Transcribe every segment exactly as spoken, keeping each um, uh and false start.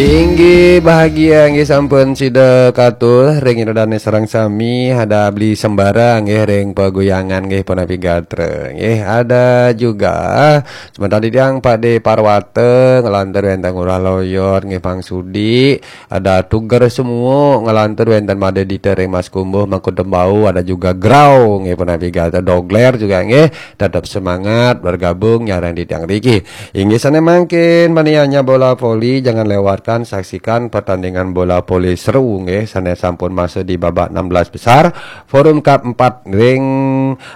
Inggih bahagia nggih sampun sida katur ring ida dane sareng sami, ada beli sembara nggih ring paguyangan nggih punapi gatra nggih, ada juga semeton titiang Pade Parwata ngelantur wenten Ngurah Loyot nggih Pang Sudi, ada Tuger Semuuk ngelantur wenten Made Dita ring Mas Kumbuh Mangkudu Tembau, ada juga Grau nggih punapi gatra, Dogler juga nggih, tetap semangat bergabung nyareng titiang riki. Inggih sane mangkin, mani hanya bola voli, jangan lewatkan saksikan pertandingan bola voli seru nggih, sane sampun masuk di babak enam belas besar Forum Cup empat ring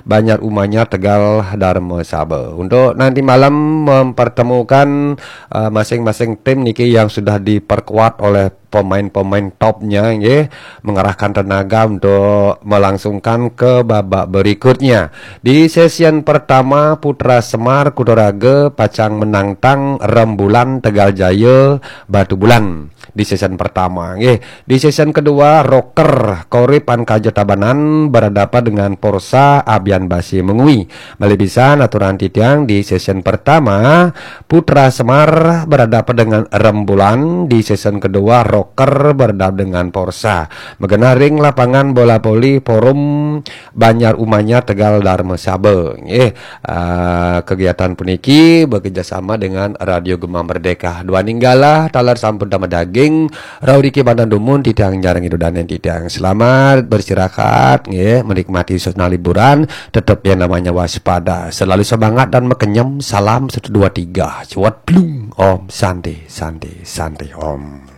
Banjar Umanyar Tegal Dharma Saba. Untuk nanti malam mempertemukan uh, masing-masing tim niki yang sudah diperkuat oleh pemain-pemain topnya nggih, mengerahkan tenaga untuk melangsungkan ke babak berikutnya. Di sesi pertama, Putra Semar Kudaraga pacang menantang Rembulan Tegal Jaya Batu Bulan. Di sesi pertama nggih. Di sesi kedua, Rocker Korip Ankaja Tabanan berhadapan dengan Porsa Abian Basi Mengwi. Malih pisan aturan titiang, di sesi pertama Putra Semar berhadapan dengan Rembulan, di sesi kedua Rocker berhadapan dengan Porsa. Magenah ring lapangan bola voli Forum Banjar Umanyar Tegal Dharma Saba nggih. Uh, kegiatan puniki bekerjasama dengan Radio Gema Merdeka. Duaning galah taler sampun damel daging, rauh riki banten dumun titiang nyareng ida dane titiang. Selamat beristirahat nggih, menikmati suasana liburan, tetap yang namanya waspada. Selalu semangat dan makenyem. Salam satu dua tiga. Cuat plung. Om Santi, Santi, Santi Om.